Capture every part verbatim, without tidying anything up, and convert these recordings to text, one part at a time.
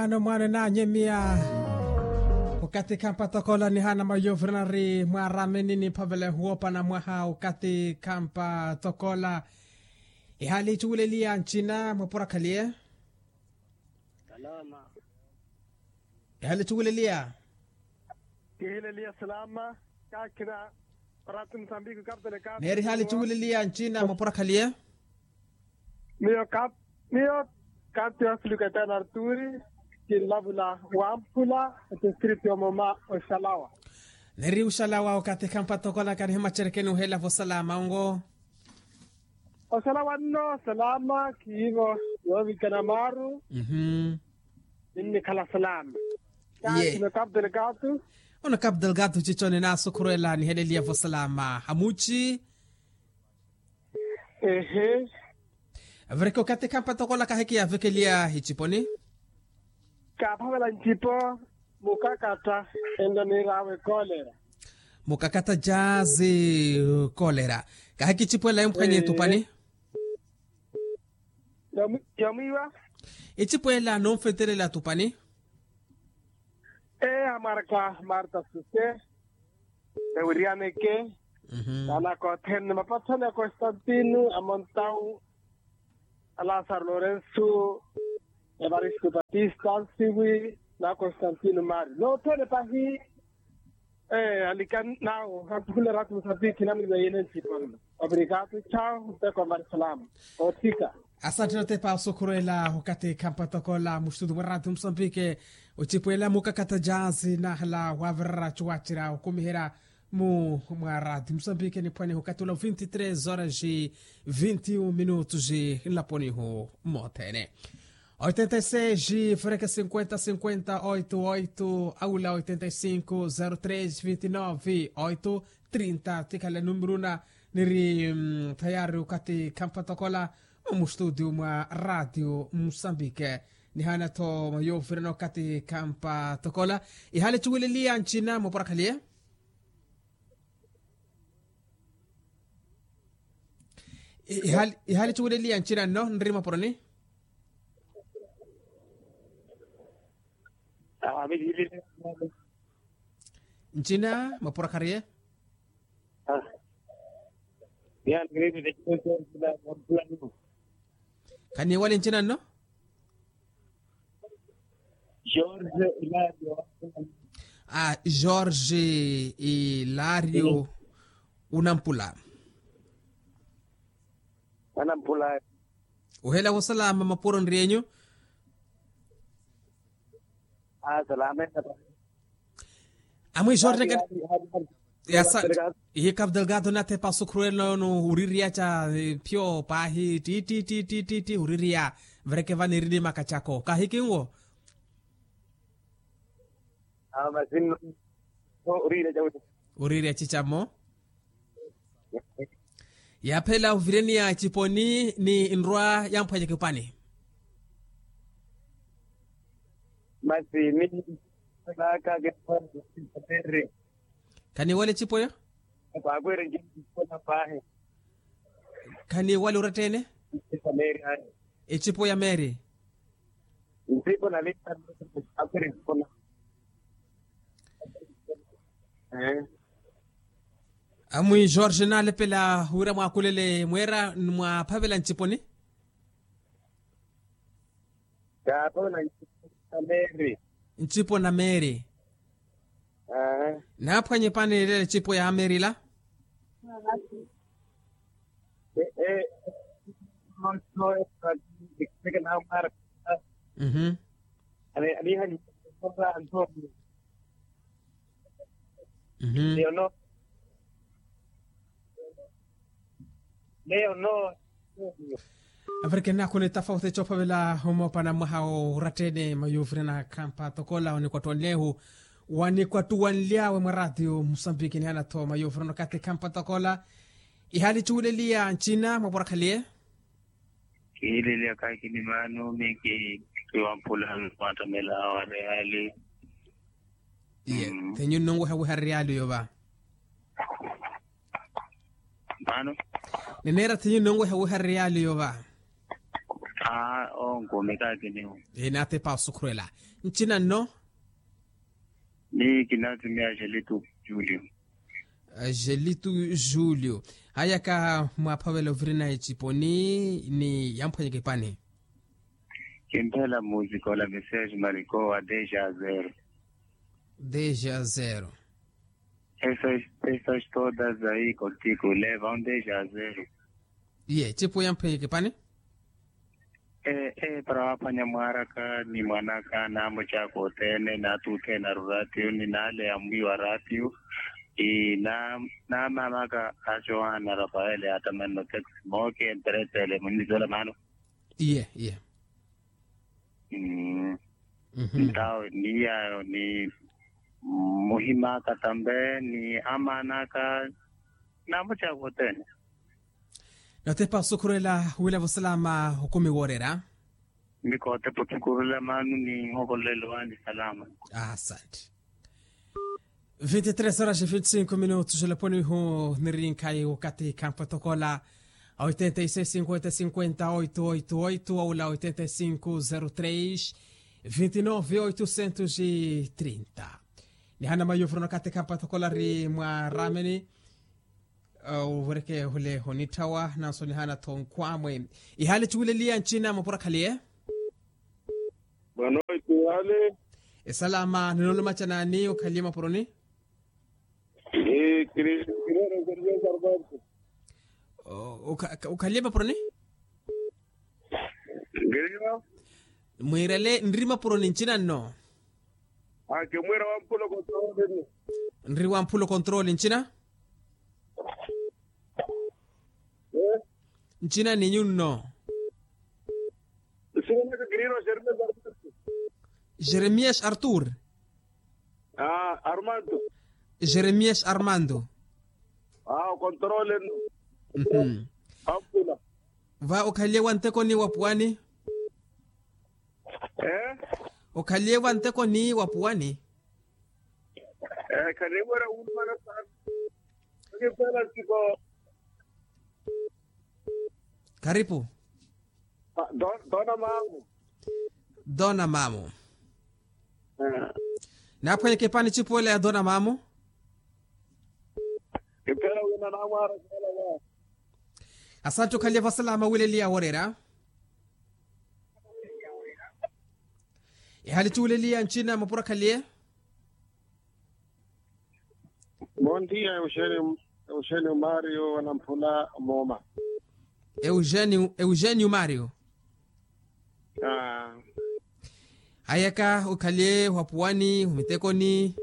Mwaano mwaano enaanyemiya. Okathi khampa tokola nihaana mayovirana ri mwaaramenini phavela ehuwoopana mwaha okathi khampa tokola. Ihaali ettuweleliya ncina mwaporakhaliye. Ihaali ettuweleliya. Kihileliya salama. Kakhina. Parati musambiki kapitele kapi neeri ihaali ettuweleliya ncina mwaporakhaliye. Miyo kap miyo kap teofilo katana arturi. Kinlavula wamphula. Etistritu yomoma oxalawa. Neeri oxalawa okathi khampa tokola kanihimacerekeni oheela vosalama ongo. Oxalawa nno salama khiivo. Yoovikana maaru. Ninnikhala salama. Ye. Kaakhino kapitele kapi. Ono kapitele kapi cicconi naasukhuruwela niheleliya vosalama hamuci. Ehe. Avireke okathi khampa tokola kahikiya avekeliya iciponi. Kaaphavela ncipo. Mukakatta. Ento niir'awe kolera. Mukakatta jaazi. Kolera. Kahikicipwela emphwanye etupani. Yamwiiwa. Icipwela noonfetelela atupani. Ee amarka marta suse. Ewiriyaneke. Naanaka othene mapatthani a constantino a montau. A lasaro lorenso. Evaristo batista nsiwi. Na constantino mari nothene pahi. Ee alikani nawo. Ankhulela ati musapikhi namwiliwa yene ncipo nno. Obrigado. Tchau. Mpekho mari salama. Othika. Asantthene otepa osukhuruwela okathi khampa tokola muxitutu mwa rati musambike. Ocipwela mukakatta jaazi naahala waavirara cuwacira okumiherya. Mu mwa rati musambike niphwanihu okathi ula vinti tres horas vinti minutos nlaponihu. Mothene. Oitenta e seis freke cinquenta cinquenta oito oito aula oitenta e cinco zero tres vinti nove oito trinta tikhala numero na. Niri thayari okathi khampa tokola. Omu studio mwa radio musambike. Nihaana-tho mayovirana okathi khampa tokola. Ihaali cuweleliya ncina mwaporakhaliye. Ihaali cuweleliya ncina nno nri mwaporoni. Ncina mwaporakhaliye. Khaniiwali ncina nno. Jorge ilario. Ilario. Unampula. Anampula. Ohela wosalama mapuro nrienyu. Amwi jorge. Ihi kapdelgado nathepa sukhuruwelo no uririya ca phio paahi titi titi titi uririya. Vereke vanirini makacako kahikinwo. Uririya cicamo. Yaaphela ovireniya eciponi ni nrwa yamphwanyeke opani. Masi ni. Khaniiwala ecipo eyo. Khaniiwala oratta-ene. Ecipo ya meeri. Amwi jorge naalepela wira mwaakulele mweera mwaaphavela nciponi. Ncipo na meeri. Naaphwanye pani lela ecipo ya meeri ila. Avirikene akhuna etafauti ecophavela omoopana mwaha oratta-ene mayuvirana khampa tokola onikwattuwanly'ehu. Wanikwattuwanly'awe mwa ratio musambiki nihaana-tho mayuvirana okathi khampa tokola. Ihaali cuweleliya ncina mwaporakhaliye. Kihiileliya kaakini maano miki kiwampula. Mwaattamela awareyali. Iye. Thenyu nnunweha wiha riyali oyo va? Maano. Nineera thenyu nnunweha wiha riyali oyo va? Aa, onkuumi kaakiniwo. Inatepa osukhurela. Ncina nno? Ni kinaatimiya jelitu julio. Jelitu julio. Hayaka mwaaphavela ovirina eciponi ni yamphwanyeke epani. Kimphela music ola message malikowa deja zero. Deja zero. Esas todas ayi kotiku leva un deja zero. Iye ecipu yamphwanyeke epani. Para waaphwanya mwaaraka ni mwanaka naamucaka othene naatuthe na ruratiyo ni naale yamwiiwa ratiyo. Naamaamaka ajohana rafael yaatamanno taxi mooke mperetele munizela maano. Iye iye. Ntawo ni yayo ni muhimaka tambe ni amaanaka. Namucaka othene. Notepa osukhurela wila vosalama okumi woorera. Mikootepa osukhurela maanu ni nhovolelo wani salama. Asante. Vinti tres horas vinti cinco minutos olaponi ihu nirinkhayi wakathi khampatokola. Oitenta e seis cinquenta cinquenta oito oito oito aula oitenta e cinco zero tres vinti nove oitocentos e trinta. Nihana mayuvuro nakathi khampatokola ri mwa rameni. Uvireke hule honitthawa nanso nihana-tho nkhwamwe. Ihali cuwileliya ncina mapuro akhaliye. Bwanoiti ihali. Esalama ninoolumaca naani okhaliye mapuroni? Ee kiri. Okhaliye mapuroni? Mwiirele nri mapuroni ncina nno. Akimwiira wampula okontrooli nno. Nri wampula okontrooli ncina. Ncina ni nyunno. Jeremias artur. Jeremias armando. Akontroole nno. Ampula. Va okhaliye wa ntekoni wa puwani? Okhaliye wa ntekoni wa puwani? Khaniwera wulumana sana. Karipu. Dona mamu. Dona mamu. Naaphwanyeke epani ecipuwela ya dona mamu. Kiphela wina namwara kala wa. Asante okhaliye vasalama wileliya woreera. Ihali cuwileliya ncina mapuro akhaliye. Bondia euxenio mario wanamphula mooma. Euxenio euxenio mario. Hayaka okhaliye wapuwani omitekoni.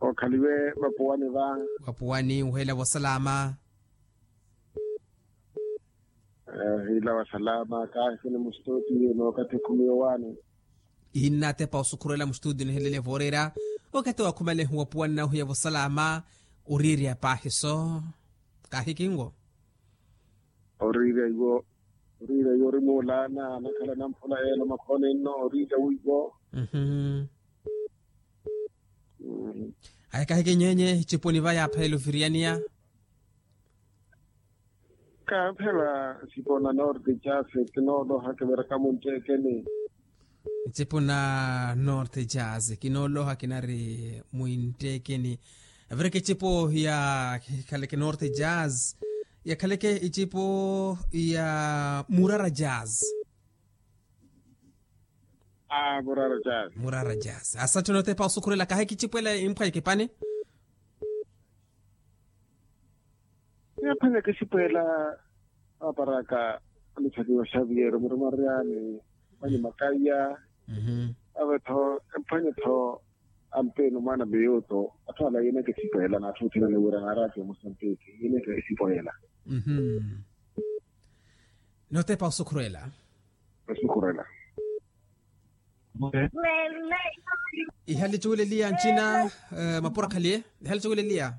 Okhaliwe vapuwani va. Vapuwani uhela vosalama. Hiila wa salama kaahikini mustotiyo n'ukathi khumi yowaani. Innatepa osukhurela mustudio nihelele vooreera. Okathi wakhumalehu wapuwani nahuya vosalama. Oriirya paahiso. Kaahikinwo. Oriirya iwo. Oriirya iwo ori muulaana anakhala namphula yeelo makhooni nno oriirya wiwo. Aye kahikinyenye icipuni va yaaphaela oviriyaniya. Kaamphela ncipo na norte jase kinooloha kiviraka muntekeni. Ncipo na norte jase kinooloha kinari mwintekeni. Avireke icipo ya khaleke norte jase ya khaleke icipo ya murara jase. Murara jase murara jase asatthi onotepa osukhurela kahi kicipwela imphwanyeke epani. Yaphwanya kicipwela aparaka aluthaniwa xavier murima ryaani. Mani makaiya avetho emphwanye-tho. Ampenu mwana miyuto atthu ala yineke esipoyela n'atthu othene aniwira naaraati ya mosantiki yineke esipoyela. Notepa osukhurela. Osukhurela. Ihali cuwileliya ncina. Mapuro akhaliye. Ihali cuwileliya.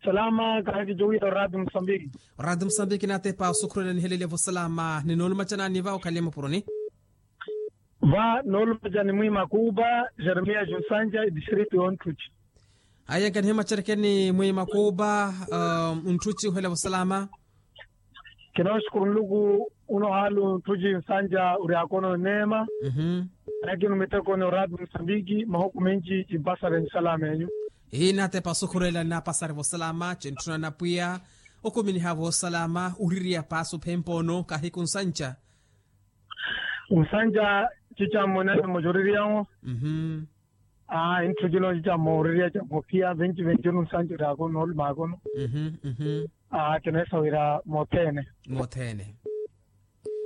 Salama kahikicuwiya orati musambiki. Orati musambiki natepa osukhurela niheleliye vosalama ninoolumaca naani va okhaliye mapuroni. Va noolumaca ni mwiima kuupa jeremiya junsanja edistritu y'onttuci. Aye nkanihimacerekeni mwiima kuupa. Ntthuci uhela vosalama. Kinoosukuru nluku. Uno haalu ntthuci nsanja uri akono nneema. Nakinu miteko ni orati musambiki mahuku minci kimpasale nsalama enyu. Inatepa osukhurela nnapasare vosalama cintthuna napwiya. Okuminiha vosalama uririya paasi ophempa ono kahiku nsanja. Nsanja cicammo nene mocuririyawo. Aa intthukilo cicammo uririya cammo piya venci venci unu nsanja uri akono olumakono. Aa kineesa wira mothene. Mothene.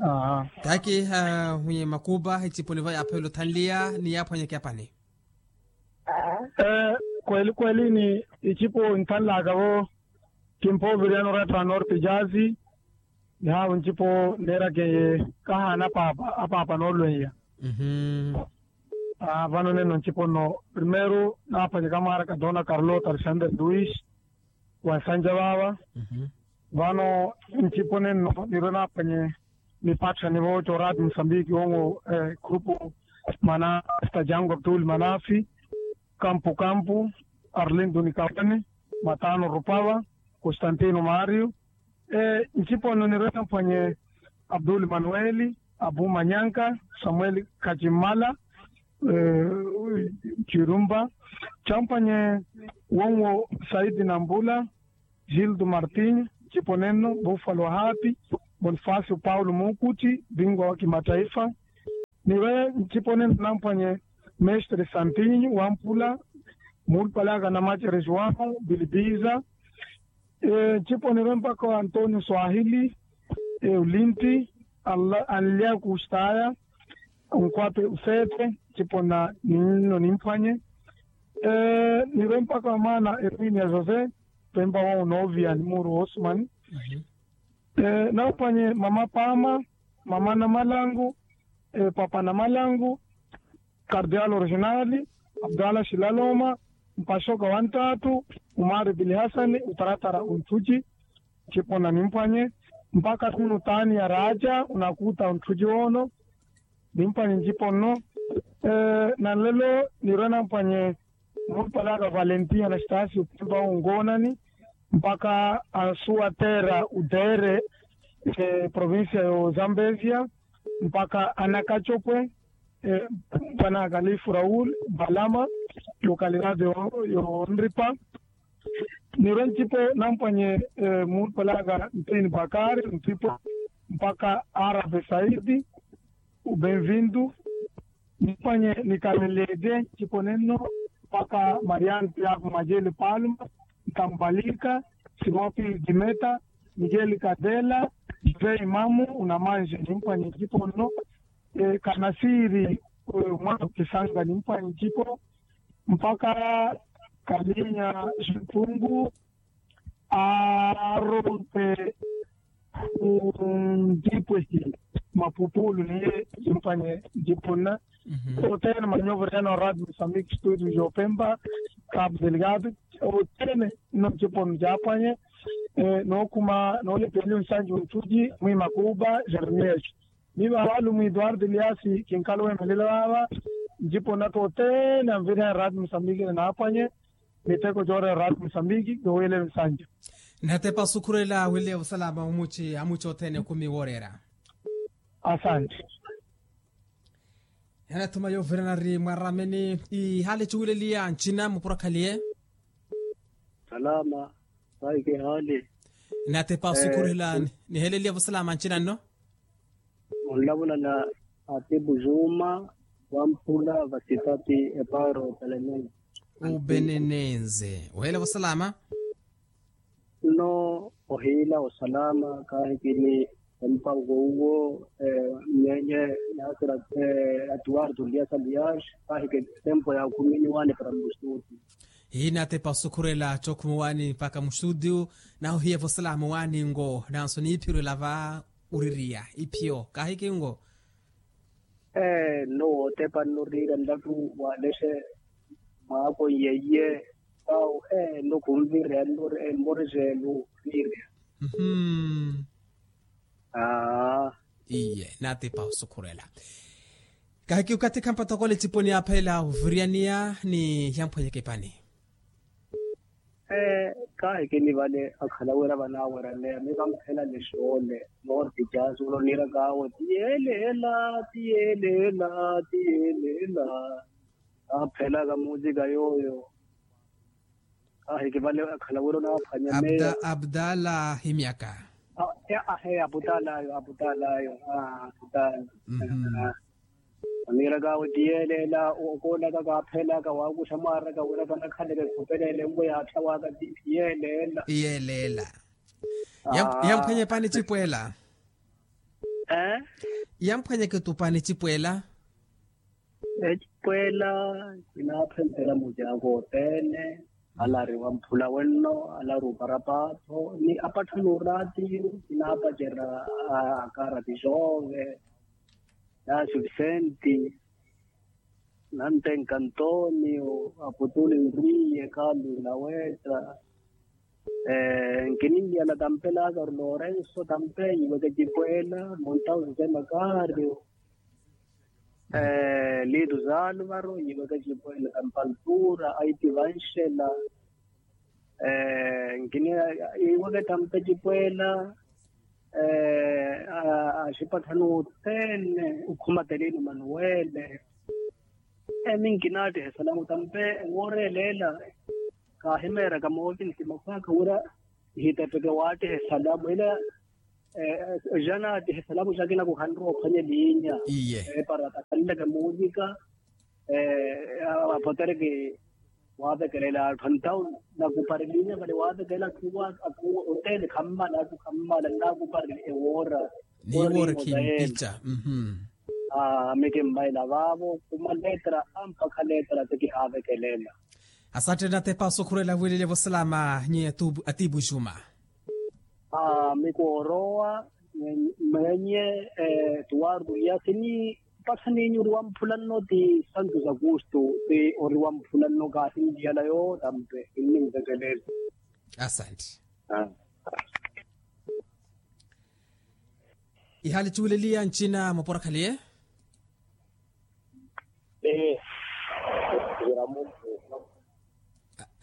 Aa. Takiha mwenye makupa iciponi va yaphela othanliya ni yaphwanyeke apani. Kweli kweli ni icipo nthanlaka vo. Kimpoviriyana oratta wa norte jazi. Nihaavu ncipo neerakeye kahaana apaapa apaapa noolweiya. Vano nenno ncipo nno primeiro naaphwanyeka mwaaraka dona carlota alexander luis. Wa nsanja vaava. Vano ncipo nenno nirwe naaphwanye. Nipatthani vooca orati musambiki wonwo grupu manasta jangu abdul manafi. Kampu kampu arlindo nikawani. Matano rupava. Constantino mario. Ncipo nno nirwe namphwanye abdul manueli. Abu manyanka. Samueli kacimmala. Cirumba. Camphwanye wonwo saidi nambula. Gildo martinho. Ncipo nenno buffalo hapi. Bonifacio paulo mukutti bingwa wa kimataifa. Niwe ncipo nenno namphwanye mestre santinho wampula. Muulupale aka namacere juano bilibiza. Ncipo nirwe mpakha wa antonio swahili. Eulinti anlyaku ustaya. Onkhwape ufepe ncipo nna ninno nimphwanye. Nirwe mpakha wa mwaana erminia josé. Pempa wa unovia ni muuru wa osumani. Namphwanye mama pama, mama namalangu, papa namalangu, kardial originali, abdala xilaloma, mpaxoka wa nttaattu, umari bilihasani utaratara onttuci. Ncipo nna nimphwanye mpakha tuni utani ya raja unakuta onttuci wono. Nimphwanye ncipo nno. Na nlelo nirwe namphwanye. Muulupale aka valentin anastasio pempa wonkoonani mpakha ansuwa tera utere. Provincia yo zambezia mpakha anakacopwe. Mpanaka lifu raul mbalama. Lokalidade yo nripa. Nirwe ncipo nampwanye. Muulupale aka ntini bakari ntipo mpakha arabe saidi. Ubenvindu. Nimpwanye nikalelede ncipo nenno mpakha marian tiago majeli palma. Ntambalika simon pil dimeta. Miguel kadela. José imamu unamanje nimpwanye ncipo nno. Kanasiiri mwana okisanga nimpwanye ncipo mpakha kalinya ximpungu. Aarope ntipwehi mapupulu niye. Nimpwanye ncipo nna othene manyovo riyana orati musambiki studio jopempa. Kapu delikatu othene nno ncipo nno caapwanye. Nookhuma noolepeliwa nsanju nttuci mwimakupa jeremias. Miiva haalu mwi eduardo eliasi kinkhala owemelela vaava. Ncipo nna tothene anviriha erati musambiki ni naaphwanye. Miteko coorera erati musambiki kihuwelele nsanju. Nnatepa osukhurela wile osalama omuci amuci othene okhumi wooreera. Asante. Anathuma yoovirana ari mwarameni. Ihaali cuwileliya ncina mupurakhaliye. Salama. Sahi kihaali. Natepa osukhurela niheleliya vosalama ncina nno. Onlavula na atipu juma wampula vasitati eparo pelenense. Upenenense. Ohela vosalama. Nno ohiila osalama kaahikini empango uwo. Mnyenye nasira atuwartu liya sa liyaxi. Kaahiki tempo ya khumini waani para mustuti. Hinatepa osukhurela cookhuma waani mpaka mustuti. Nahohiya vosalama waani ngo nanso niiphirwela va uririya iphiyo kaahiki ngo. Ee nno wootepa nno riira nlatu waalexe mwaako nyeiye. Vau ee nno khunvireya nno emmoriseelu riira. Mmm. Aa. Iye naatipa osukhurela. Kahiki okathi khampatokole ecipo niyaaphela oviriyaniya ni yamphwanyeke epani. Ee Kaahikini vale akhala wira vanaaweraleya miva mphela nixoole. Moorti caasi ula oniiraka awe ti yeeleela ti yeeleela ti yeeleela. Aaphelaka muusika yooyo. Kaahiki vale akhala wira onaaphwanya meya. Abdala himyaka. Ahe abutalayo abutalayo abutala. Oniiraka awe ti yeeleela okoolaka kaaphelaka waakuxa mwaaraka wira kanakhaleke khupeleele nwe yaattha waaka ti yeeleela. Yeeleela. Yamphwanya epani ecipweela. Yamphwanyeke tu pani ecipweela. Ecipweela kinaaphenttela mucaaka othene. Alari wamphula wenno alari opara paatho ni apattha n'uraatiyo kinaapacerya akaarati joove. Naasi visenti nantenka antonio aputuli nriye kalu naweetta. Nkininliyana tampe laazaru lorenso tampe yiweke cipweela montausi sema kaaryo. Liitu zaaluvaro yiweke cipweela tampe altura aiti vanxela. Nkini yiweke tampe cipweela axipatthani othene okhumateliini manuwele. Emi nkinaattihe salamu tampe ewoora eleela. Kaahimeeraka moovinsi makhwaaka wira ehitepeke waattihe salamu ila. Janaattihe salamu jakina kuhanrowa ophwanya eliinya. Iye. Eparata khanleke muusika apotereke. Waavekelela atthu antawu nakupari eliinya vale waavekelela atthu othene khammala atthu khammala nnakupari ewoora. Niiwoora khimpica. Ami kimmaila vaavo khuma letra ampakha letra ti kihaavekelela. Asattheni atepa osukhurela wiilelya vosalama nyi atiipu ixuma. Ami koorowa mwenye tuwaruliyasi ni mpatthaniinyu ori wamphula nno ti santu zakustu ti ori wamphula nno kaahinliyala yootampe kinninvekelela. Asantti. Ihaali cuweleliya ncina mwaporakhaliye.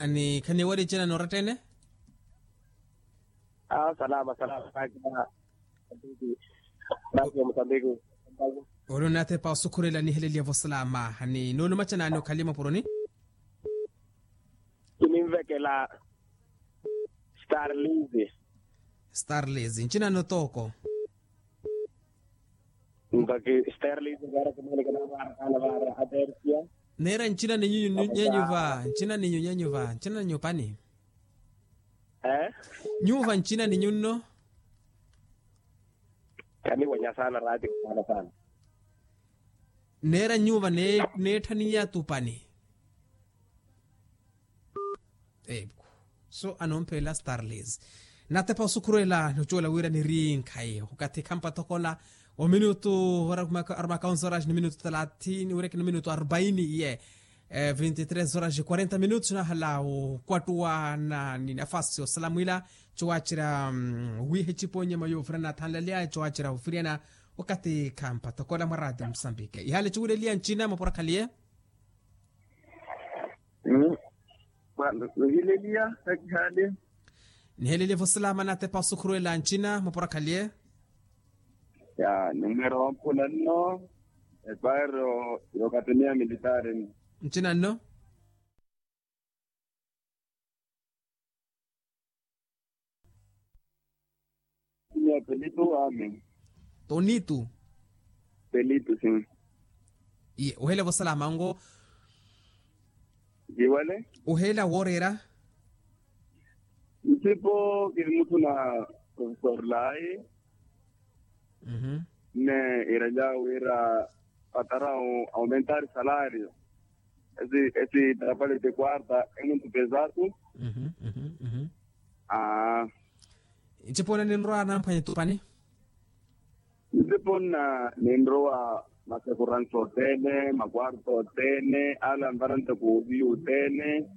Ni khaniwari ncina noorattene. Salama salama. Mosambiki. Ori onatepa osukhurela niheleliya vosalama ni noolumaca naani okhaliye mwaporoni. Kininvekela. Starlizi. Starlizi ncinano tooko. Mpakhi starlizi vara kimwene kinavarakaana vara atersia. Neera ncina ninyu nyenyuva ncina ninyu nyenyuva ncina ninyu pani. Nyuva ncina ninyu nno. Kaniwanya sana rati sana sana. Neera nyuva neetthaniya tupani. Eku so anomphela starlis. Natepa osukhurela nocuwela wira niri nkhayi okathi khampathokola. Ominutu arumaka onze horas ni minutu thalathini wireke ni minutu arubaini iye. Vinti tres horas quarenta minutu nahala okwattuwa ni nafasi osalamwila. Cowacerya wiiha ecipo nyama yoofirana athanlaliya cowacerya ofiryana. Okathi khampathokola mwa rati musambike ihale cuwileliya ncina mwaporakhaliye. Niheleliya. Niheleliya vosalama natepa osukhurwela ncina mwaporakhaliye. Ya nimwera wamphula nno. Epaero yokatemia militari nno. Ncina nno. Pelito ami. Tonitu. Pelito si. Iye ohela vosalama ongo. Kiwale. Ohela woorera. Nsipo kiri mutthu na profesor lai. Nne iralya wira patara aumentar salario. Esi esi trapale de quarta emuntu pesatu. Aa. Ncipo nna ninrowa namphwanya tupani. Ncipo nna ninrowa masekuransi othene makwarto othene ala anvarante kuuviyu othene.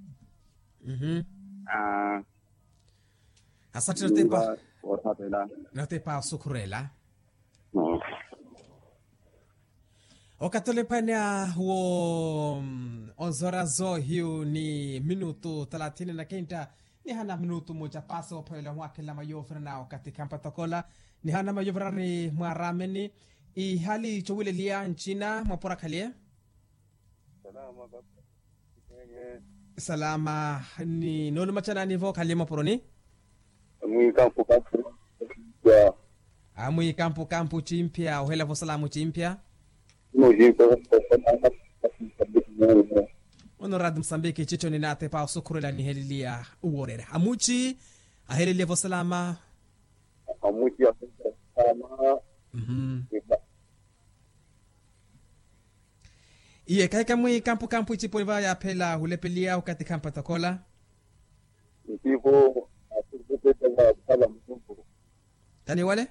Aa. Asatthi natepa. Natepa osukhurela. Okathi olephwanya wo onzorazo hiyu ni minutu thalathini na kenta. Nihana minutu muja paasi woophwelela ohwakhela mayovirana okathi khampatokola. Nihana mayovirari mwarameni. Ihali chowileliya ncina mwapura khaliye. Salama ni noolumacanani vo khaliye mwapuroni. Mwikampu kampu. Amwikampu kampu cimpya ohela vo salamu cimpya. Muno raadi musambiki citto ninaatepa osukhurela niheleliya uworera amuci. Aheleliye vo salama. Amuci asalama. Iye kahika mwi kampu kampu icipo iva yaaphela hulepeliya okathi khampatha khola. Ncipo. Tani wale.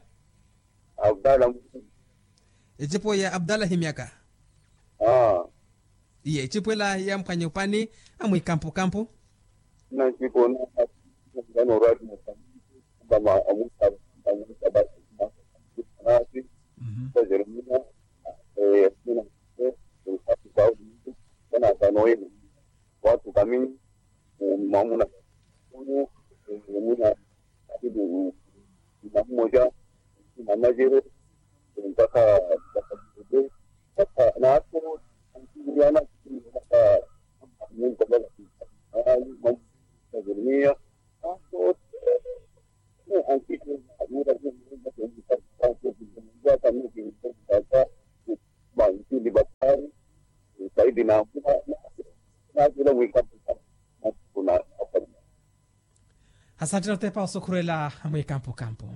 Abdala. Ecipo ya abdala himyaka. Iye ecipo ela yamphwanya opani. Amwikampukampu. Nancipo. Nano rati. Kama amusa. Amusa basi. Nasi. Jeremia. Kana kanoyeni. Watu kamini. Mamuna. Muna. Katibu. Mahumoja. Manajere. Mpaka. Mpaka. Nato. Antiana. Mpaka. Mungu. Jeremia. Asante notepa osukhurela. Mwikampukampu.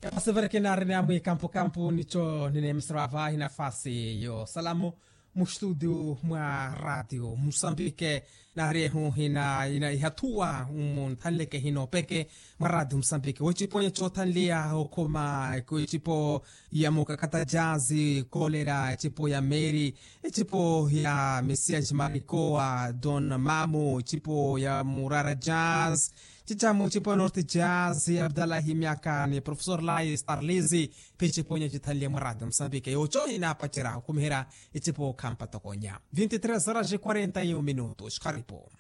Epasevereke naarina mwikampukampu nico nineemisero avahi nafasi yo salamu. Mustudio mwa radio musambike narehu hina ina ihathuwa munthanleke hino peke. Mwa radio musambike wecipo ya cothanliya okuma ecipo ya mukakata jazi kolera ecipo ya meri ecipo ya mesias marikowa don mamu ecipo ya murara jazi. Cicamu ecipo ya norte jazi abdalahi myaka ni profesor lai starlizi. Phi ecipo ya cithanliya mwa radio musambike yoco hinapacerya okhumiherya ecipo khampatokonya. Vinti tres horas e quarenta e un minutos kharipo.